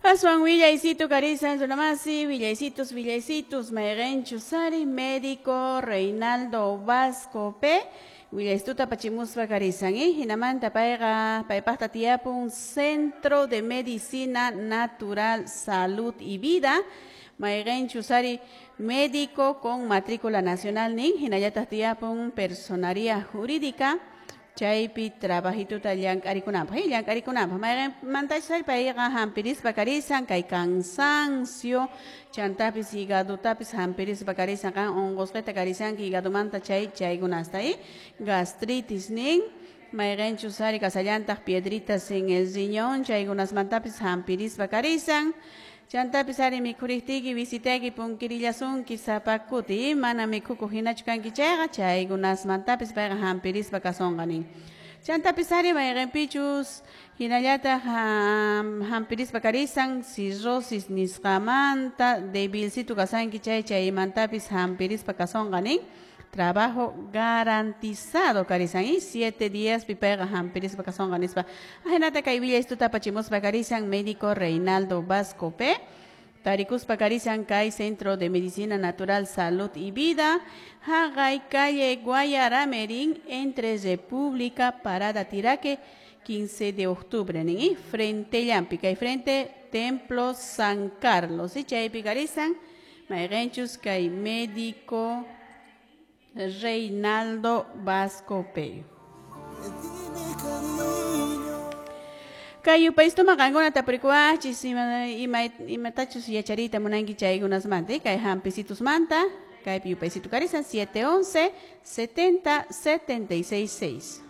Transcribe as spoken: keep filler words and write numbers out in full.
Aswan willaysitu karisan runamasi, willaysitus, willaysitus, mayqinchus ari médico Reinaldo Vasco P. Willaystuta pachimuspa karisan, eh? Hinamanta payqa paypaqta tiyapun Centro de Medicina Natural, Salud y Vida, mayqinchus ari médico con matrícula nacional nin, hinallataq tiyapun personaría jurídica, chaypi trabajituta llank'arikunanpaq, eh, llank'arikunanpaq mayqinmantachus ari payqa hampirispa karisan kay cansancio, chantapis higadotapis hampirispa karisan, qan unqusqita karisanki higadomanta chay chaykunasta, eh, gastritis nin, mayqinchus ari kasallantaq piedritas en el riñón, chaykunasmantapis hampirispa karisan. Chantapis ari mikhuriqtiyki visitayki punkirillasunki sapa kuti, mana mikhukuq hinachu kanki chayqa chaykunasmantapis payqa hampirispa kasunqa nin. Chantapis ari mayqinpichus hinallataq hampirispa karisan cirrosis nisqamanta debilcitu kasanki chay chaymantapis hampirispa kasunqa nin. Trabajo garantizado karisan y siete días pipayqa hampirispa kasunqa nispa. Ahinata kay willaystuta apachimuspa karisan médico Reinaldo Vasco P. Tarikuspa karisan kay Centro de Medicina Natural, Salud y Vida, haqay calle Guayaramerín, entre República, Parada Tiraque, quince de octubre, nin, y frente llampi, kay frente Templo San Carlos, y chaypi karisan mayqinchus kay médico Reinaldo Vasco P. Kay yupaystuma qankuna tapurikuwachis ima ima imatachus yachariyta munanki chaykunasmanta, kay hampisitusmanta, kaypi yupaysitu karisan siete once setenta setenta y seis seis.